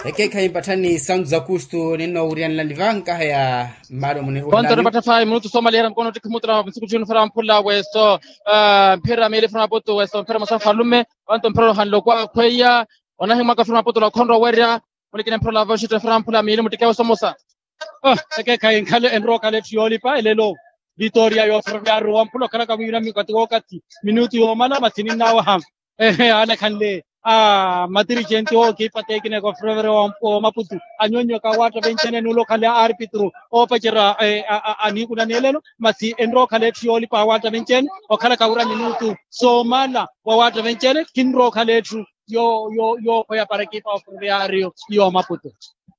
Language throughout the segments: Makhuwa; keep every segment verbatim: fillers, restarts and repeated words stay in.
Ekeekhayi mpatthani santu za kustu ninnoowuryanlani va nkaha ya mmaalo muniruhela. Onto nipattha faayi minutu soomalihera mukhono ottikha mutula misuku ttiinu fera mphula weso mphira miili fera maputu weso mphira mosa nfalume. Onto mphira ohanle okwakhweya onahimwaka fera maputu ola okhonrowa owerya. Mulikina mphira olava oxitteferya mphula miili muttikheya osomosa. Ekeekhayi enrowa okhala etthu yoolipa elelo. Vitoria yooferoviyaru wamphula okhalaka mwiira mikati wookati minutu yoomala masi ninnawaha. Ehe anakhanle a matirichenti ookipa tekineke oferoviyaru wa maputu anyonyoka awaatta venchene nuula okhala arpitru oopacerya aniikunani elelo. Masi enrowa okhala etthu yoolipa awaatta venchene okhalaka wira minutu soomala wawaatta venchene kinrowa okhala etthu. Yo yo yookhoya para ekipa oferoviyario yo maputu.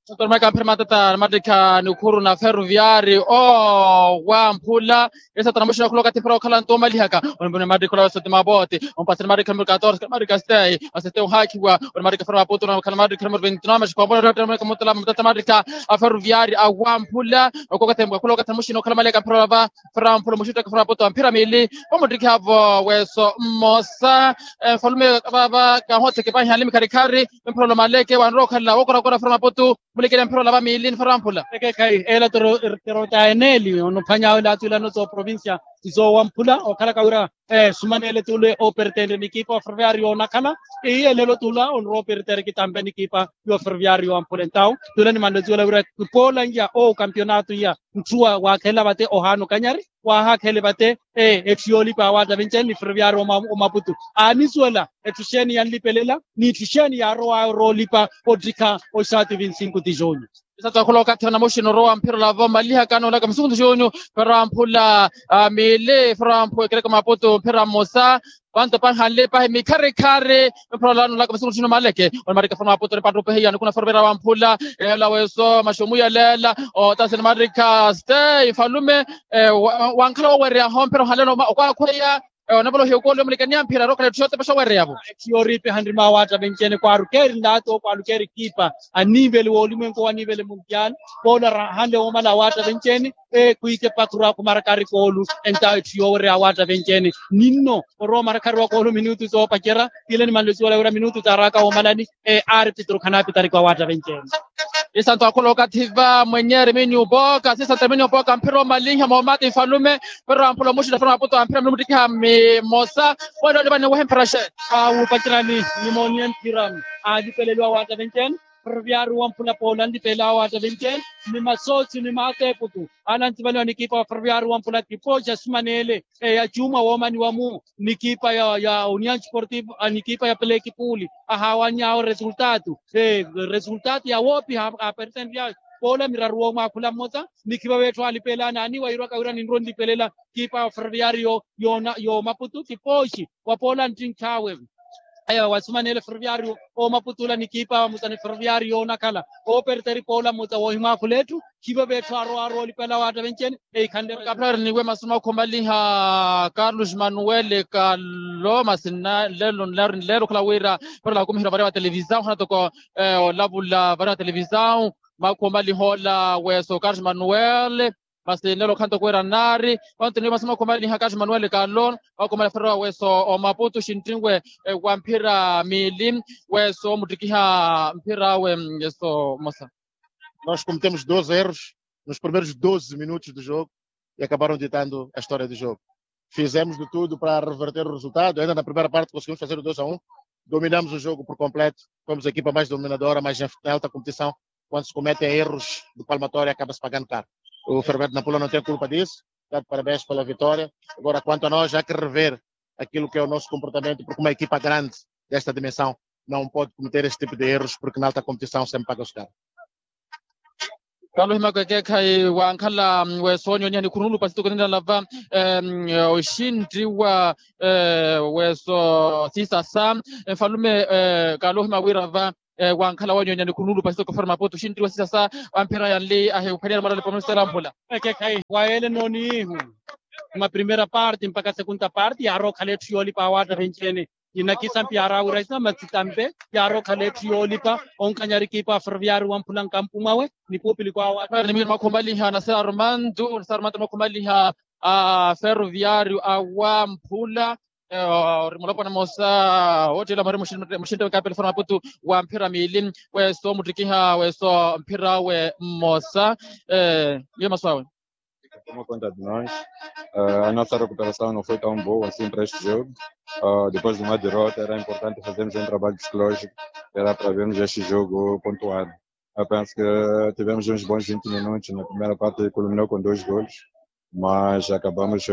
Sotoromaka mphira matata namattikha nikhuru na ferroviari o wamphula. Esatana muxina okhula okathi mphira okhala nto omalihaka onipuni mattikha ola wesoti mapoti ompasani mattikha numero katorse mattikha stei. Asete ohaakhiwa onimattikha fera maputu nakhala mattikha numero veintinove maxikombola matata mattikha a ferroviari a wamphula. Okokathi okhula okathi muxina okhala malihaka mphira olava fera mphula muxuttaka fera maputu a mphira miili. Omuttikhi avo weso mmosa. Nfalume vava kahooteke pahi anle mikharikhari. Mphira olomaleke wanrowa okhala wookorakora fera maputu. Mulikele mphira olava miili nifera mphula. Ekeekhayi ela tero tero ta eneeli onophwany'awe laatu ilano sooprovincia sisoowa mphula okhalaka wira sumaneele tule oopertendre nikipa oferoviyario onakhala. Iye lelo tula onrowa opertere kitampe nikipa yoferoviyario wamphula entawu tule nimanle siwela wira kipoola iya ookampionato iya. Ntthuwa waakhelela vate ohaana okanyari waahaakhele vate. Etthu yoolipa awaatta vencheni ni ferroviyaari omaputu aanisuwela etthu xeeni yanlipelela n'itthu xeeni yaarowaawe oroolipa ottikha oxaati vinsinko ti junyu. Isatu akhula okathi anamuxina orowa mphira olava omalihaka noolaka musuku ti junyu. Ferroviyaari wamphula miili ferroviyaari wamphula ekereke maputu mphira mmosa. Vanto panhanle pahi mikharikhari. Mphira olava noolaka musuku ti junyu maleke onimattikha ferroviyaari wamputu onipantta opehiya nikuna ferroviyaari wamphula. Eela weso maxomu yaleela otasini mattikha stei nfalume. Wankhala wowereyaho mphira ohanle okwakhweya. Onavolohiya okooliwa mulikaniya mphira arookhala etthu yotepexa owereya-vo. Etthu yooriipiha nrima awaatta venchene kwaarukeeri nlaato kwaarukeeri kiipa anivele woolimwenku wa nivele mundial. Poola rahanle woomala awaatta venchene. Khwiike pakuru akhumarakari koolu entawo etthu yoowereya awaatta venchene ninno orowa omarakari wa koolu minutu soopacerya. Tile nimanle siwela wira minutu taaraka woomalani. Arpitru khanaapitariku awaatta venchene. Isanto akhula okathi va mwenye eremini opooka sisa teremini opooka mphira omalinha moomati nfalume. Mphira wamphula omuxita mphira maputu amphira mphira muttikiha mmosa. Wene olivani wehe mphira xe. Awupacerani nimooniye mphira alipeleliwa awaatta venchene. Ferroviyaari wamphula poola nlipeleliwa awaatta venchene ni masoosi ni maateeputu. Ala ntivaliwa nikipa wa ferroviyaari wamphula kipoxa sumaneele. Eya cuuma woomaniwa-mu nikipa ya ya union sportivo nikipa ya plekipuli ahaawanny'awe resultatu. Resultatu yawoopiha apersenty'awe poola miraru woomwaakhula mmosa. Nikhiva veetthu alipelana aniwa iirwaka wira ninrowa onlipelela kipa wa ferroviyaari yo yo maputu kipooxi wa poola nttinkh'awe. Aya wasumaneele ferroviyaari oomaputula nikipa wa mutsa ni ferroviyaari yoonakhala ooperteri poola mutsa woohimwaakhula etthu. Khivo veetthu arowa arowa olipela waatta venchene. Eikhanle kapirari niwe masu makhumaliha carlos manuel kalo masi nlelo nlelo okhala wira. Parola khukumihira varia va televisao hana toko olavula varia va televisao. Makhumaliha ola weso carlos manuel. Masi nlelo khanto kuwira nari. Onto niwe masu makhumaliha carlos manuel kalo. Makhumaliha ferroviyaari wa weso omaputu xinttinwe wa mphira miili. Weso muttikiha mphira awe. Eso mosa. Nós cometemos doze erros nos primeiros doze minutos do jogo e acabaram ditando a história do jogo. Fizemos de tudo para reverter o resultado. Ainda na primeira parte conseguimos fazer o dois a um. Dominamos o jogo por completo. Fomos a equipa mais dominadora, mas em alta competição, quando se cometem erros de palmatória, acaba-se pagando caro. O Ferroviário de Nampula não tem culpa disso. Está de parabéns pela vitória. Agora, quanto a nós, há que rever aquilo que é o nosso comportamento, porque uma equipa grande desta dimensão não pode cometer esse tipo de erros, porque na alta competição sempre paga-se caro. Kaalohimaka ekeekhayi wankhala weso onyonyiha nikhuru nuulupasi toko ninalava oxintti wa weso sisasa. Nfalume kaalohima wira va wankhala wonyonyiha nikhuru nuulupasi toko ferroviário de maputo oxintti wa sisasa. Amphira yanli ahiphwaniyari mwaralipa omunisitela mphula. Ekeekhayi wayeele nooniihu ma primeira parte mpakha segunda parte yaarookhala etthu yoolipa awaatta venci-ene. Inakisa mpi yaaraawira isa masi tampe yaarookhala etthu yoolipa onkanyari ekipa ya ferroviário wamphula nkampu mwawe. Ni kuupilikwa awa nimiri mwakhumaliha na sera armando na sera armando mwakhumaliha a ferroviário a wamphula. Ori mulopwana mmosa woottela mwari muxintta wekapele fora maputu wa mphira miili, weso muttikiha weso mphira we mmosa. Iyo masu awe. Como conta de nós, a nossa recuperação não foi tão boa assim para este jogo. Depois de uma derrota era importante fazermos um trabalho psicológico, era para vermos este jogo pontuado. Eu penso que tivemos uns bons vinte minutos na primeira parte, culminou com dois golos, mas acabamos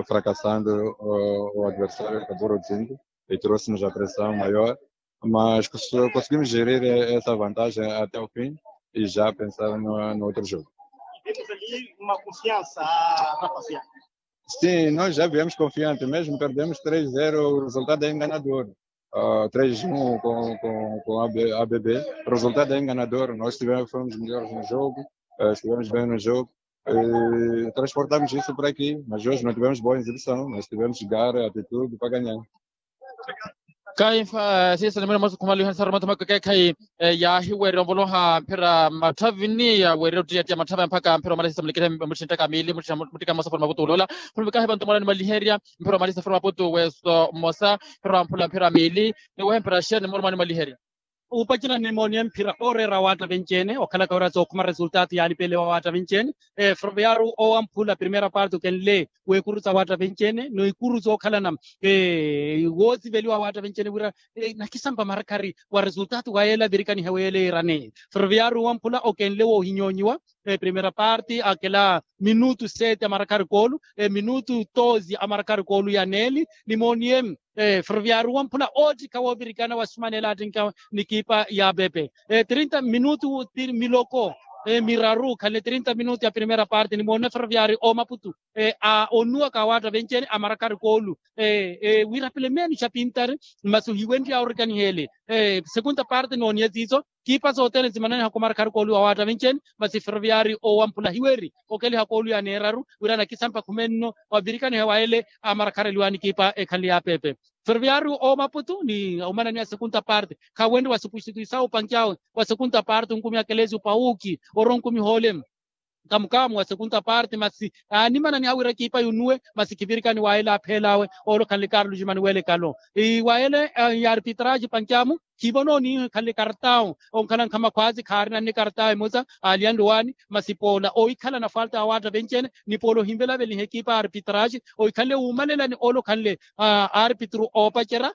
fracassando. O adversário acabou reduzindo e trouxe-nos a pressão maior, mas conseguimos gerir essa vantagem até o fim e já pensar no outro jogo. Temos ali uma confiança a rapaziada. Sim, nós já viemos confiante, mesmo perdemos três zero, o resultado é enganador. Três um com a B B, o resultado é enganador. Nós tivemos, fomos melhores no jogo, estivemos bem no jogo, transportamos isso para aqui, mas hoje não tivemos boa exibição, mas tivemos garra, atitude para ganhar. Kayi nfa siisa nimwene mmosa khumaliha nsaru mathuma kakeekhayi yaahiwerya onvoloha mphira matthavini yaawerya ottiyattiya matthava mpakha mphira omala siisa mulikithe muttinttaka miili. Muttika mmosa fora maputu oloola. Khulumikahi vantu mwala nimaliherya mphira omala siisa fora maputu weso mmosa. Mphira wamphula mphira miili. Niwehe mphira xeeni mmola mwala nimaliherya. Upacerya nimooniye mphira ooreera awaatta venci-ene okhalaka wira sookhuma resultado yaanipelewa awaatta venci-ene. Ferroviario owamphula primeira parte okenle weekuru sa awaatta venci-ene n'ikuru sookhalana woosiveliwa awaatta venci-ene wira nakisampa marakhari wa resultado wa yeela avirikanihe weela eeraneeye. Ferroviario owamphula okenle woohinyoonyiwa primeira parte akela minutu sete amarakhari koolu minutu tozi amarakhari koolu ya neeli. Nimooniye ferroviario owamphula oottikha woovirikana wasumanela attinka n'ikipa ya pepe trinta minutu miloko miraru khanle trinta minutu ya primeira parte nimoonne ferroviario oomaputu a onuwaka awaatta venci-ene amarakhari koolu wira pilemeeni xa pintari masi ohiwenrya orikaniheele. Segunda parte nooniye siiso kipa sothene simananiha khumarakhari koolu awaatta venci-ene masi ferroviario owamphula hiweri okeliha koolu ya neeraru wira nakisampa khumenno wavirikaniha wa ele amarakhareliwani kipa ekhanle ya pepe. Ferroviario omaputu ni omananiha segunda parte khawenrye wasupuxituisa opanki awe wa segunda parte onkumi akelesi opawuki oro onkumi hoole. Kamukamu wa segunda parte masi aanimananiha wira kipa yunuwe masi khivirikani wa ele apheel'awe oolo khanle karlu jimani weelekalo wa ele ya arpitraji pancamu. Khivono oniihu ekhanle kartau onkhala nkhama khwaasi khaarina nne kartau emosa aaliyanle owaani masi poola ohikhala na falta awaatta venci-ene ni poola ohinvelaveliha ekipa ya arpitraji ohikhanle wuumalelani oolo khanle arpitru oopacerya.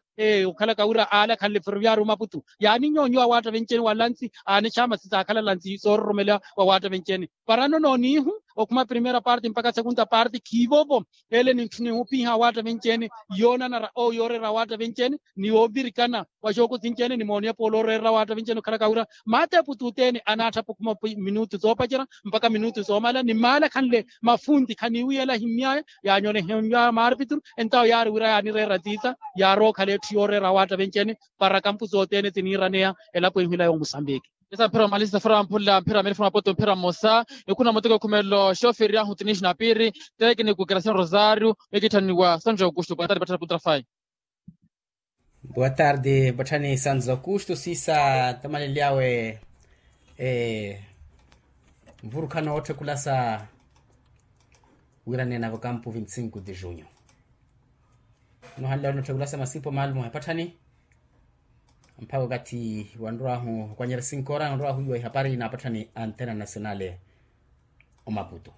Okhalaka wira aala khanle ferroviario maputu yaaninyonyiwa awaatta venci-ene wa lansi aanexama sisaakhala lansi soororomela wa awaatta venci-ene. Parano nooniihu okhuma primeira parte mpakha segunda parte khiivovo ele nintthunihupiha awaatta venci-ene yoonanara owo yooreera awaatta venci-ene ni yoovirikana wa xookosinci-ene nimooniye poola ooreera awaatta venci-ene okhalaka wira maateeputu othene anaatthapukhuma minutu soopacerya mpakha minutu soomala ni maala khanle mafunti khaniiwiyela ahimmyaya yaanyolehemyaya maarpituru. Entawo yaari wira yaanireera tiita yaarookhala etthu yooreera awaatta venci-ene para kampusi othene siniiraneya elapo ehwila ya omusambiki. Esa mphira omalisa fura mphula mphira mili fura mapoto mphira mmosa. Nikhuna muteko khumelo xoferi ahu tinixi na piiri. Tekiniku kerasino rosario mikitthaniwa sanjo kuxtu patari patthara putrafayi. Boa tarde patthani sanzo kuxtu siisa tamaleli awe. Mvurukhano otthe kulasa wira neena vakampu vinti cinco de junho. Nohanle wari notthe kulasa masipo maalumu ahepatthani mpakha okathi wanrwahu kwanyera sinkora wanrwahu iwa ihapari na apatthani antena nasionale. Omaputu